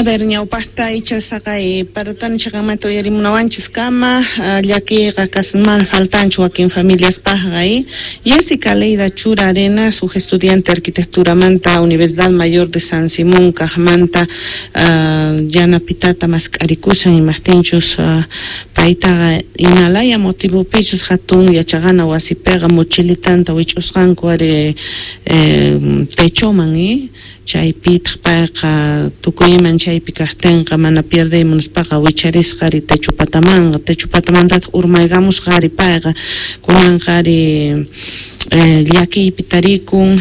A ver, ñawpaqta icha saqay Parotani chiqanmanta uyarimunawanchis kama llakiyqa mana faltanchu wakin familiaspaqqa. Jessica Leida Chura Arenas, huk estudiante arquitecturamanta Universidad Mayor de San Simón kaqmanta yanapitata mask'arikushan imaqtinchus paytaqa imalaya motivopichus hatun yachaqana wasipiqa mochilitanta wich'usqanku ari techoman chaypitaq payqa tukuy iman chaypi kaqtinqa mana pierdey munaspaqa wicharisqa ari techo patamanqa, techo patamantataq urmaykamusqa ari payqa kunanqa ari llakiypi tarikun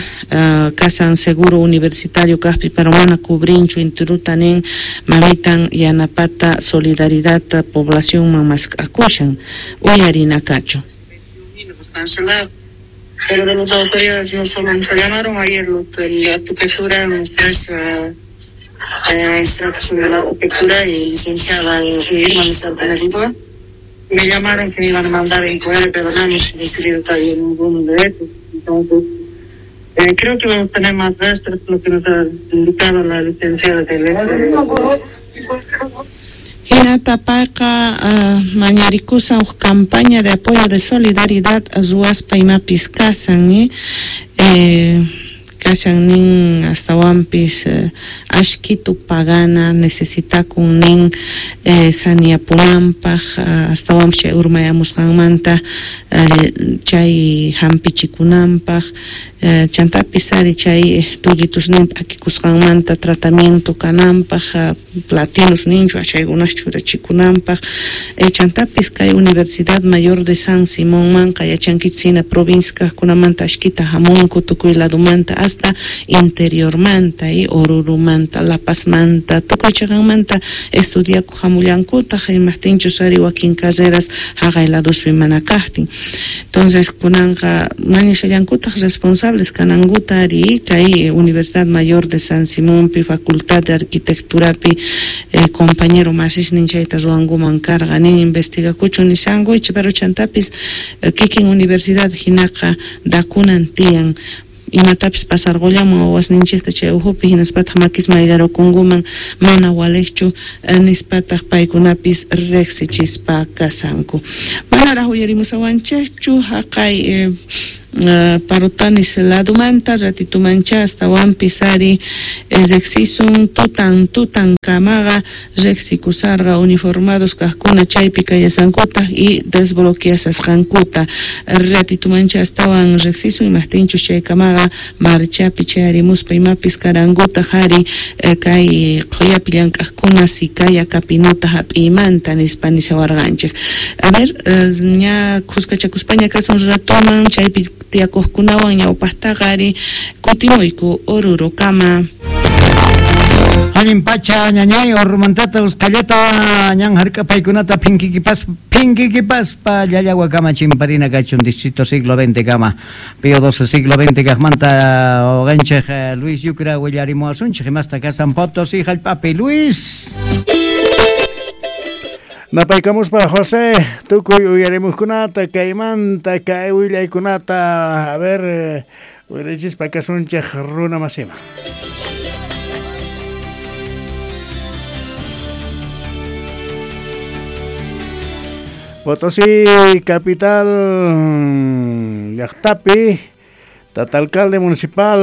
kasan seguro universitario kaqpi pero mana cubrinchu intiruta nin mamitan yanapata solidaridad poblacionman mask'akushan uyarinakachu. Cancelado. Pero de las autoridades no solo nos llamaron ayer los de la arquitectura, ustedes extractos de la arquitectura y licenciada Irma Lizardo, me llamaron que me iban a mandar en QR, pero no hemos recibido todavía ninguno de esos. Entonces, creo que vamos a tener más gastos, lo que nos ha indicado la licenciada de la. Hinata payqa mañarikusan huk campaña de apoyo de solidaridad ruwaspa imapis kasan kashan nin astawanpis ashkitu pagana necesitakun nin saniyapunanpaq astawanpis chay urmayamusqanmanta chay hampichikunanpaq chantapis ari chay tullitusnin p'akikusqanmanta tratamiento kananpaq platinos ninchu chaykunas churachikunanpaq chantapis kay Universidad Mayor de San Simonmanqa yachankichis hina provincia kaqkunamanta ashkita hamunku tukuy ladumanta hasta interiormanta Orurumanta, La Pazmanta, tukuy chiqanmanta estudiakuq hamullankutaq imaqtinchus ari wakin carreras haqay laduspi mana kaqtin. Entonces kunanqa mañashallankutaq responsables kanankuta ari kay Universidad Mayor de San Simonpi Facultad de Arquitecturapi compañero masisnin chayta ruwankuman karqa nin investigakuchun nishanku pero chantapis kikin universidad hinaqa dakunan tiyan imatapis pasarqullaman wawasninchikta chay uhupi hinaspataq makis mayllarukunkuman mana waliqchu nispataq paykunapis riqsichispa kasanku. Manaraq uyarimusawanchikchu haqay Parotanis ladumanta ratitumancha astawanpis ari riqsisun tutan tutan kamaqa riqsikusarqa uniformados kaqkuna chaypi kallasankutaq y desbloqueasasqankuta ratitumancha astawan riqsisun imaqtinchus chaykamaqa marchapi chayarimuspa imapis karankutaq ari kay qhuyapi llank'aqkuna sikaya kapinuta hap'iymanta nispa nishawarqanchik. A ver, ña khuskachakuspaña kasun ratuman chaypi tiyakuqkunawan ñawpaqtaqa ari kutimuyku Orurukama. Allin pacha ñañay Orurumantata usqallata ñan hark'apaykunata phinkikipaspa llallawakama chimparina kachun distrito siglo XX kama Pío XII siglo XX kaqmanta uqanchik Luis Yucra willarimuwasunchik imasta kasan Potosí hallp'api. Luis. Napaykamuspa José, tukuy uyarimuqkunata kaymanta kay willaykunata, a ver, uyarichispa kasunchik runa masima. Potosí capital llaqtapi tata alcalde municipal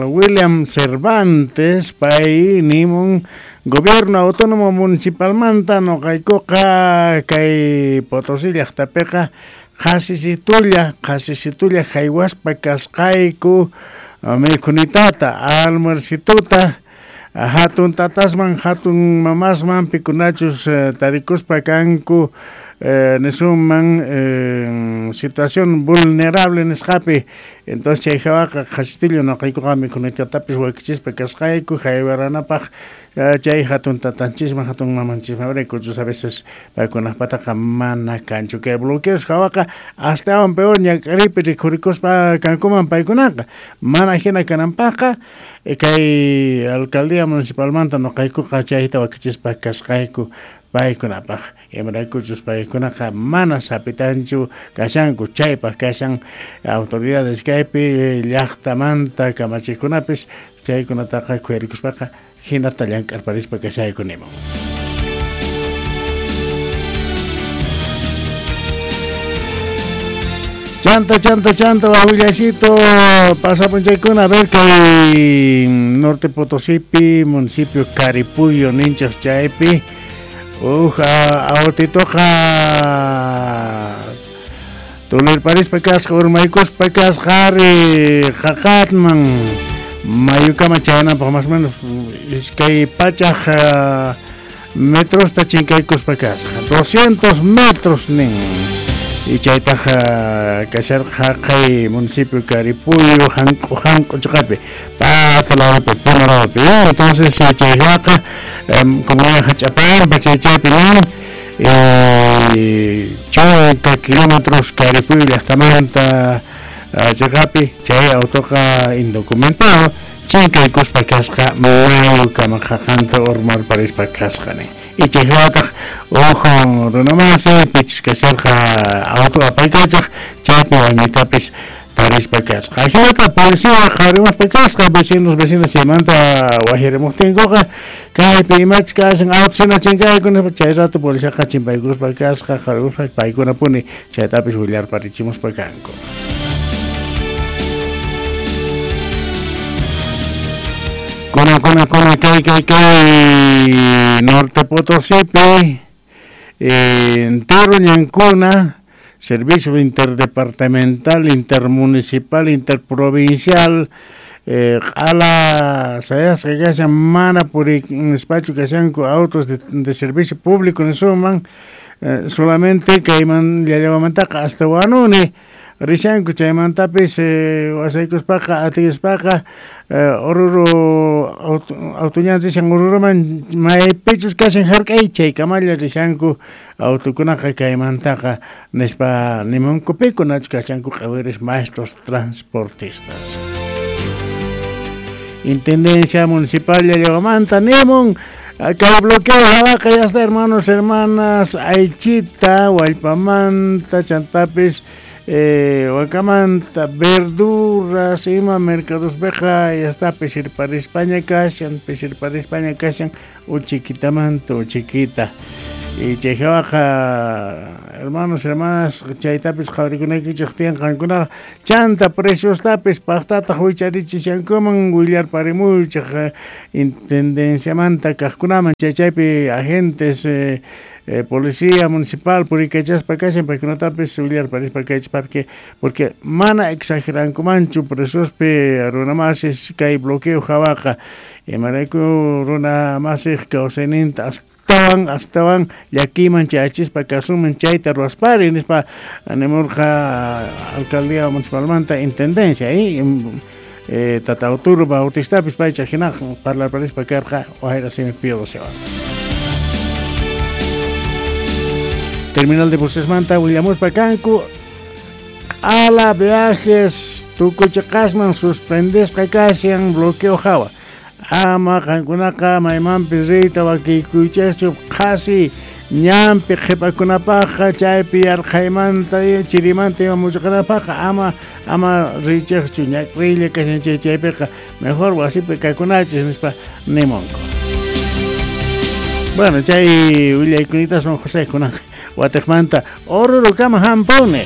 William Cervantes pay nimun gobierno autónomo municipalmanta noqaykuqa kay Potosí llaqtapiqa qhasisitulla haywaspa kasqayku mikhunitata almuercituta hatun tatasman hatun mamasman pikunachus tarikuspa kanku nisunman situación vulnerable nisqapi. Entonces chay hawaqa qhasitillo noqaykuqa mikhunitatapis wakichispa kasqayku haywaranapaq chay hatun tatanchisman hatun mamanchisman rikuchus a veces paykunaqpataqa mana kanchu kay bloqueos hawaqa astawan peor ñak'aripi rikhurikuspa kankuman paykunaqa mana hina kananpaqqa kay alcaldía municipalmanta noqaykuqa chayta wakichispa kasqayku paykunapaq imaraykuchus paykunaqa mana sapitanchu kashanku chaypaq kashan autoridades kaypi llaqtamanta kamachiqkunapis Chaykunataqa khuyarikuspaqa hinata llank'arparispa kashayku nimun. Chanta, chanta, chanta, wawillasito, pasapunchaykuna, a ver kay Norte Potosípi, municipio Caripuyo, ninchaq chaypi, uj autitoqa tulirparispa kasqa, urmaykuspa kasqa, ari qaqatman, mayukama chayananpaq más o menos 200 metros ta chinkaykuspa kasqa, 200 metros nin. Y chaytaqa kasharqa haqay municipio Caripuyo, hanq'u hanq'u chiqapi, pata lawpi, Puno lawpi. Entonces chayqa comunidad Hach'apampa chay chaypi nin, 80 kilómetros Caripuyo llaqtamanta chiqapi, chay autoqa indocumentado, chinkaykuspa kasqa mayukama qaqanta urmarparispa kasqa nin. Y chayhawataq uj runamasi pichus kasharqa auto apaykachaq chaypi wañuytapis tarispa kasqa. Ajinata policía qharimuspa kasqa vecinos vecinas chaymanta wajirimuqtinkuqa kaypi imachus kashan auto hina chinkayku nispa chay rato policiaqa chimpaykuspa kasqa qharimuspa paykunapuni chaytapis willarparichimuspa kanku. Kuna, kuna, kuna, kay, kay, kay, Norte Potosípi, entero ñankuna, servicio interdepartamental, intermunicipal, interprovincial, q'ala sayasqa kashan mana puri nispachu kashanku autos de servicio público nisuman, solamente kayman llallawamantaqa hasta Huanuni rishanku chaymantapis wasaykuspaqa atispaqa Oruro autoñan rishan Oruruman maypichus kashan hark'ay chaykamalla rishanku autokunaqa kaymantaqa nispa nimunku pikunachu kashanku q'awiris maestros transportistas. Intendencia Municipal Llallawamanta nimun kay bloqueo hawaqa ya está, hermanos, hermanas, aychita, wallpamanta, chantapis, wakamanta, verduras, ima mercados beja, ya está, pisirparispaña kashan, pisirparispaña kashan, uchiquitamanta, uchiquita. Y chayhawaqa, hermanos, hermanas, chaytapis qhawarikunaykichik tiyan qankunaqa, chanta preciostapis paqtataq wicharichishankuman willarparimuychik intendenciamanta kaqkunaman, chay chaypi agentes, policía municipal purikachaspa kashan paykunatapis willarparispa kaychik porque mana exagerankumanchu preciospi runamasis kay bloqueo hawaqa, imarayku runamasiq kawsayninta astawan llakiman chayachispa kasuman chayta ruwaspari nispa nimurqa alcaldía municipalmanta intendencia Tata Arturo Bautistapis paycha hinaq parlarparispa karqa wayra simi Pío XII. Terminal de busesmanta willamuspa kanku q'ala viajes tukuchiqasman suspendesqa kashan bloqueo hawa. Ama qankunaqa maymanpis riyta wakiykuychikchu qhasi ñanpi qhipakunapaqqa chaypi yarqhaymanta chirimanta ima muchuqanapaqqa ama riychikchu ñak'riylla kashan chay chaypiqa mejor wasipi kakunachis nispa nimunku. Bueno, chay willaykunitasun José kunan watiqmanta Orurukama hampuni.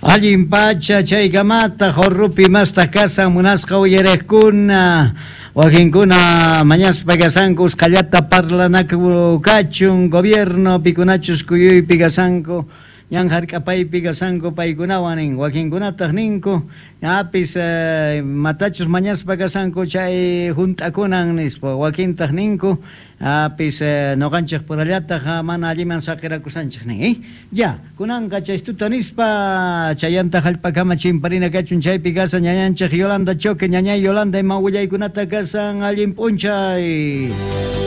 Allin pacha chaykamata Orrupi mastaq kasan munasqa uyariqkuna wakinkuna mañaspa kasanku usqhallata parlanaku kachun gobierno pikunachus kuyuypi kasanku ñan hark'apaypi kasanku paykunawan nin wakinkunataq ninku ñapis matachus mañaspa kasanku chay hunt'akunan nispa wakintaq ninku apis noqanchik purallataq mana alliman saqirakusanchik nin ya kunanqa chaystuta nispa chayanta hallp'akama chimparina kachun chaypi kasan ñañanchik Yolanda Choque ñañay Yolanda ima willaykunata kasan allin p'unchay.